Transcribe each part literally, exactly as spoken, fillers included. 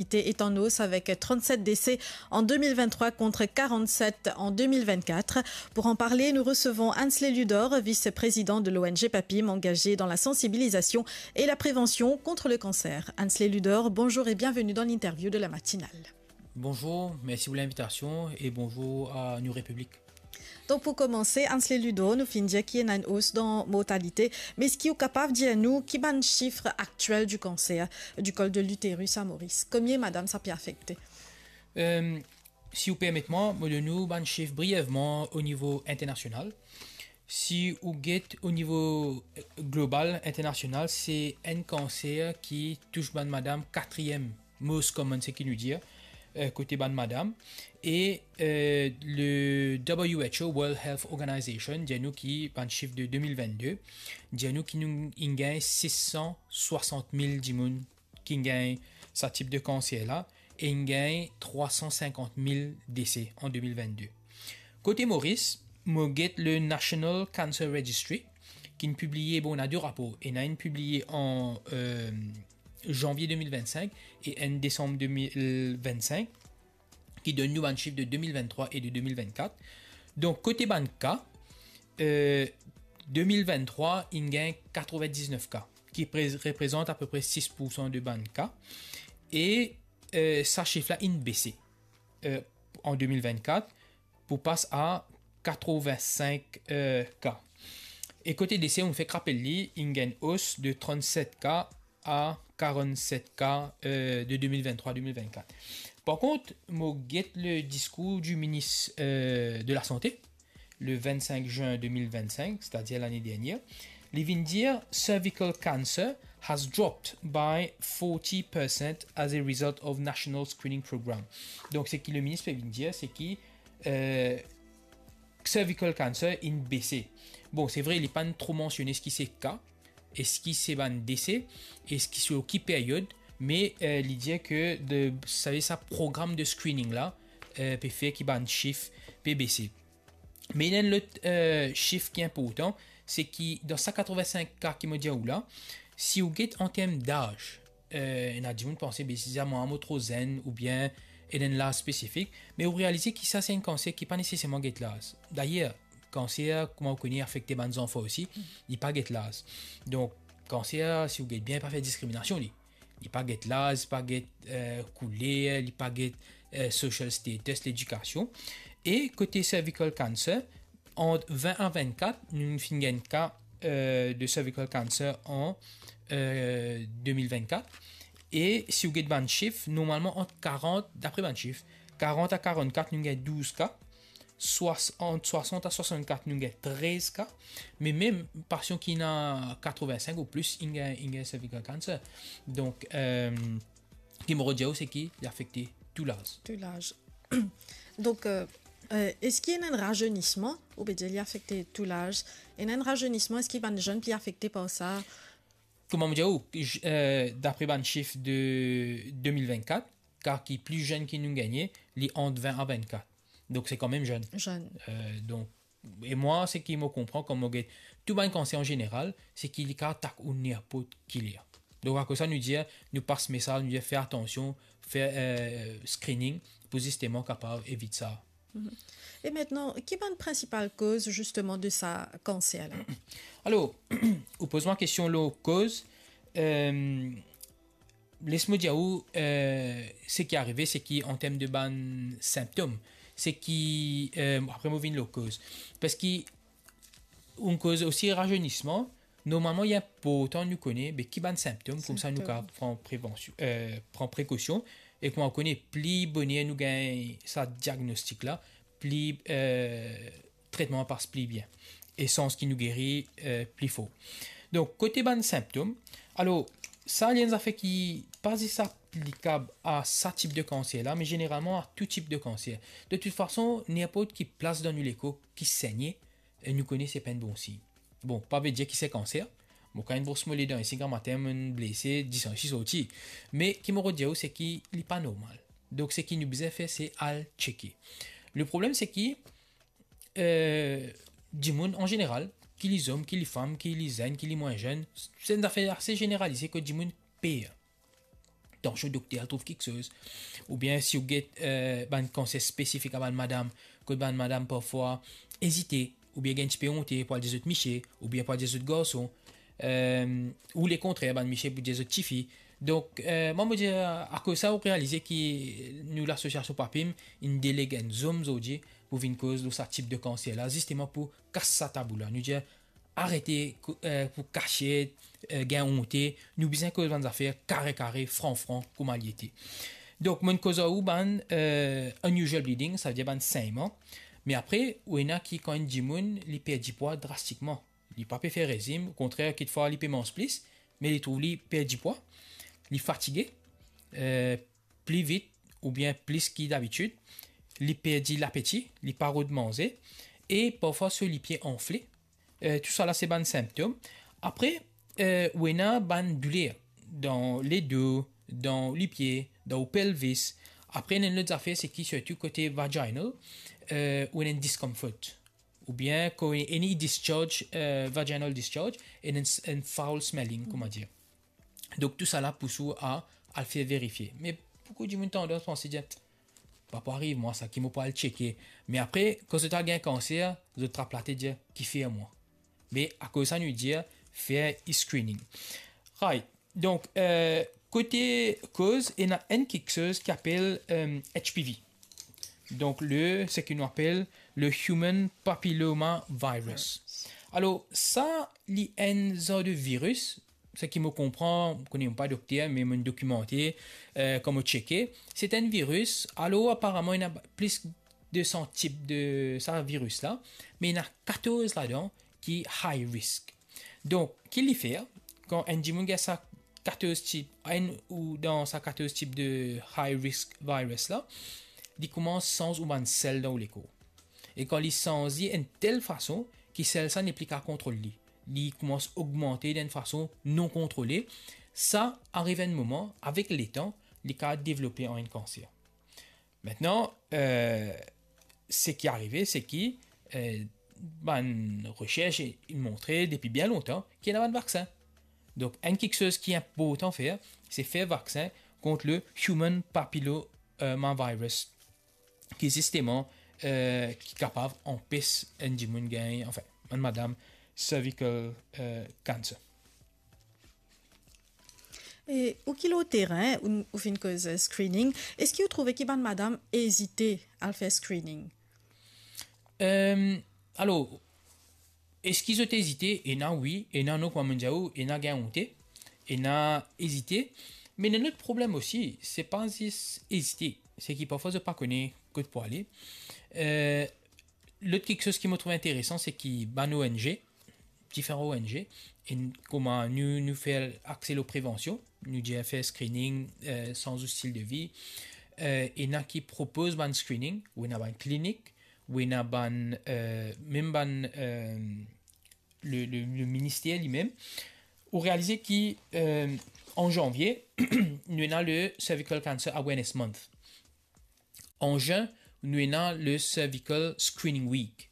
mortalité est en hausse avec trente-sept décès en deux mille vingt-trois contre quarante-sept en deux mille vingt-quatre. Pour en parler, nous recevons Ansley Ludor, vice-président de l'O N G PAPIM, engagé dans la sensibilisation et la prévention contre le cancer. Ansley Ludor, bonjour et bienvenue dans l'interview de la matinale. Bonjour, merci pour l'invitation et bonjour à New Republic. Donk, pou komanse, Ansley Ludor, nou finn dir ki ena enn os dan mortalite, me eski ou kapav dir nou ki bann sif aktiel di kanser di kol de literis a Moris? Konbien madam sa pe afekte? Euh, si ou permet mwa, mo donn ou bann sif brievman o nivo internasional. Si ou get o nivo, euh, global, internasional, se enn kanser ki tous bann madam katriem most common, seki nou dir, euh, kote bann madam. E, euh, le W H O, World Health Organization, dir nou ki bann sif de de mil vennde, dir nou ki nou inn gagn sis san swasant mil dimoun ki inn gagn sa tip de kanser la, e inn gagn trwa san sinkant mil dese an de mil vennde. Kote Moris, mo get le National Cancer Registry, ki'nn pibliye, bon, ena de rapor, ena inn pibliye an, euh, zanvie de mil vennsink e enn desam de mil vennsink, ki donn nou bann sif de de mil venntrwa e de de mil vennkat. Donk, kote bann ka, euh, de mil venntrwa, inn gagn katrevin-diznef ka, ki pre-, reprezant apepre sis poursan de bann ka. E, euh, sa sif la inn bese, euh, an de mil vennkat, pou pas a katrevin-sink, euh, ka. E kote dese, mo fek rapel li, inn gagn os de trannset ka a karannset ka, euh, de de mil venntrwa de mil vennkat. Par kont, mo get le diskour di minis, euh, de lasante, le vennsink zin de mil vennsink, setadir lane dernier, li vinn dir, "Cervical cancer has dropped by forty percent as a result of national screening program." Donk, seki le minis pe vinn dir, se ki, euh, cervical cancer inn bese. Bon, se vre, li pa'nn tro mansione eski se ka, eski se bann dese, eski se ki period, me, euh, li dir ke de, sa, sa program de screening la, euh, pe fer ki bann sif pe bese. Me ena enn lot, euh, sif ki inportan, se ki dan sa katrevin-sink ka ki mo dir ou la, si ou get an term daz, euh, ena dimoun panse, be, si sa mwa mo tro zenn oubien ena enn laz spesifik, me ou realize ki sa se enn kanser ki pa neseserman get laz. Dayer, kanser, kouma ou kone, afekte bann zanfan osi, li pa get laz. Donk, kanser, si ou get bien, pa fer diskriminasion li. Li pa get laz, pa get, euh, kouler, li pa get, euh, social status, ledikasion. E kote cervical cancer, ant vin a vennkat, nou finn gagn ka, euh, de cervical cancer an, euh, de mil vennkat. E si ou get bann sif, normalman ant karant, dapre bann sif, karant a karannkat, nou gagn douz ka, swas-, ant swasant a swasannkat, nou gagn trez ka, me mem pasian ki ena katrevin-sink ou plis, inn gagn, inn gagn cervical cancer. Donk, euh, ki mo dir ou, se ki li afekte tou laz. Tou laz. Donk, euh, euh, eski ena enn razeynisman, ou pe dir li afekte tou laz, ena enn razeynisman, eski bann zenn pli afekte par sa? Kouma mo dir ou, j-, euh, dapre bann sif de de mil vennkat, ka ki pli zenn ki nou gagne, li ant vin a vennkat. Donk, se kanmem zenn. Zenn. Euh, donk, e mwa, seki mo konpran, kan mo get tou bann kanser an zeneral, se ki li kapav atak ou ninport ki ler. Donk, akoz sa, nou dir, nou pas mesaz, nou dir, fer atansion, fer, euh, screening, pou zisteman kapav evit sa. Mhm. E aster, ki bann prinsipal koz, zisteman, de sa kanser la? Alor, ou poz mwa kestion lor koz, euh, les mo dir ou, euh, seki arive, seki an term de bann sinptom, seki, euh, apre mo vinn lor koz. Parski ou koz osi razeynisman, normalman, li inportan nou kone, be, ki bann sinptom, koumsa nou Sinptom. Kapav pran prevansion, euh, pran prekosion, e kouma ou kone, pli boner nou gagn sa diagnostik la, pli, euh, tretman pas pli bien. E sans ki nou geri, euh, pli for. Donk, kote bann sinptom, alor, sa, li enn zafer ki pa zis aplikab a sa tip de kanser la, me zeneralman a tou tip de kanser. De tout fason, ninport ki plas dan nou lekor ki segne, e nou kone se pa enn bon sign. Bon, pa ve dir ki se kanser. Mo kapav bros mo ledan isi, gramatin mo'nn blese, disan isi sorti. Me ki mo dir ou, se ki li pa normal. Donk, seki nou bizin fer, se al tcheke. Le problem, se ki, euh, dimoun an zeneral, ki li zom, ki li fam, ki li zenn, ki li mwin zenn, se enn zafer ase zeneralize kot dimoun per. tansion, dokter al trouv kiksoz. Oubien si ou get, eh, bann kanser spesifik a bann madam, kot bann madam parfwa ezite, oubien gagn tipe onte pou al dir zot misie, oubien pou al dir zot garson, eh, ou lekontrer, bann misie pou dir zot tifi. Donk, eh, mwa, mo dir, akoz sa, ou realize ki nou, lasosiasion Papim, inn deleg enn zom zordi pou vinn koz lor sa tip de kanser la, zisteman pou kas sa tabou la. Nou dir, arete kou-, eh, pou kasiet, eh, gagn onte, nou bizin koz bann zafer kare kare, fran fran, kouma li ete. Donk, mo'nn koz ar ou bann, eh, unusual bleeding, savedir bann segnman. Me apre, ou ena ki kan enn dimoun, li perdi pwa drastikman. Li pa pe fer rezim, okontrer, kitfwa li pe manz plis, me li trouv li perdi pwa, li fatige, eh, pli vit oubien plis ki dabitid, li perdi lapeti, li pa rod manze, e parfwa so lipie anfle. Eh, tousala se bann sinptom. Apre, eh, ou ena bann douler dan ledo, dan lipie, dan ou pelvis. Apre, ena enn lot zafer, se ki sirtou kote vaginal, eh, ou ena enn discomfort. Oubien kan ena discharge, eh, vaginal discharge, ena enn, enn foul smelling, kouma dir. Donk, tousala pous ou a al fer verifie. Me boukou dimoun tandans panse, dir, "Pa pou ariv mwa sa, ki mo pou al tcheke." Me apre, kan zot al gagn kanser, zot trap latet, dir, "Kifer mwa?" Me akoz sa nou dir, fer screening. Right. Donk, eh, kote koz, ena enn kiksoz ki apel, eh, H P V. Donk, le, seki nou apel le Human Papilloma Virus. Alor, sa, li enn zar de viris, seki mo konpran, mo kone, mo pa dokter, me mo'nn dokimante, eh, kan mo tcheke. Se enn viris, alor, aparaman, ena plis de san tip de sa viris la, me ena katorz ladan ki high risk. Donk, ki li fer, kan enn dimoun gagn sa katorz tip, enn ou dan sa katorz tip de high risk virus la, li koumans sanz ou bann sel dan ou lekor. E kan li sanz li enn tel fason ki sel sa nepli kapav kontrol li, li koumans ogmante dan enn fason non kontrole, sa ariv enn moman, avek letan, li kapav devlope an enn kanser. Aster, eh, seki arive, se ki, eh, bann resers inn montre depi bien lontan ki ena bann vaksin. Donk, enn kiksoz ki inportan fer, se fer vaksin kont le human papilloma virus, ki zisteman, eh, ki kapav anpes enn dimoun gagn, anfin, bann madam, cervical, eh, cancer. E ou ki lor terin, ou, ou finn koz, eh, screening, eski ou trouve ki bann madam ezite al fer screening? Em, alor, eski zot ezite? Ena wi, ena non, kouma mo'nn dir ou, ena gagn onte, ena ezite. Me ena enn lot problem osi, se pa zis ezite, se ki parfwa zot pa kone kot pou ale. Eh, lot kiksoz ki mo trouv interesan, se ki bann O N G, diferan O N G, e n-, kouma nou, nou fer akse lor prevansion, nou dir fer screening, eh, sanz ou stil de vi, eh, ena ki propoz bann screening, ou ena bann klinik, ou ena bann, eh, mem bann, eh, le, le, le minister limem, ou realize ki, eh, an zanvie, nou ena le Cervical Cancer Awareness Month. An zin, nou ena le Cervical Screening Week.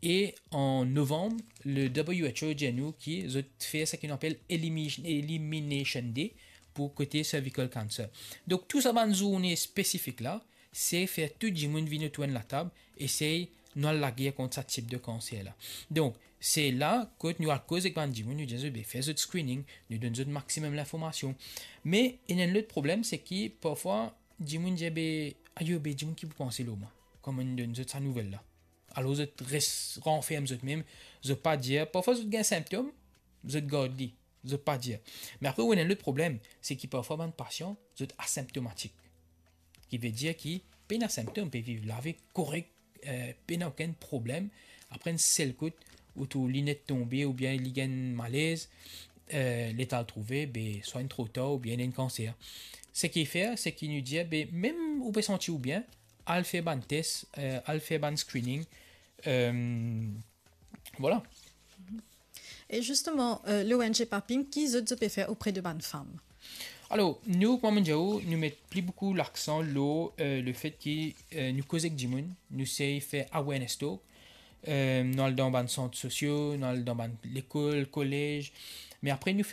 E an novanm, le W H O dir nou ki zot fer seki nou apel elimi-, Elimination Day pou kote cervical cancer. Donk, tou sa bann zourne spesifik la, se fer tou dimoun vinn otour enn latab, esey nou al lager kont sa tip de kanser la. Donk, se la kot nou al koz ek bann dimoun, nou dir zot, be, fer zot screening, nou donn zot maximum linformasion. Me, ena enn lot problem, se ki, parfwa, dimoun dir, be, ayo, be, dimoun ki pou panse lor mwa, kouma nou donn zot sa nouvel la. Alor, zot res ranferm zot mem, zot pa dir, parfwa zot gagn sinptom, zot gard li, zot pa dir. Me apre, ou ena enn lot problem, se ki parfwa bann pasian, zot asimptomatik. Ki vedir ki pena sinptom, pe viv lavi korek, eh, pena okenn problem. Apre enn sel kout, ou trouv li net tonbe oubien li gagn malez, eh, letan al trouve, be, swa inn tro tar oubien ena enn kanser. Seki fer, seki nou dir, be, mem ou pe santi ou bien, al fer bann tes, eh, al fer bann screening, eh, vwala. E zisteman, eh, le O N G Papim, ki zot, zot pe fer opre de bann fam? Alor, nou, kouma mo dir ou, nou met pli boukou laksan lor, eh, lefet ki, eh, nou koz ek dimoun, nou sey fer awareness talk, eh, nou al dan bann sant sosio, nou al dan bann lekol, kolez, me apre nou fer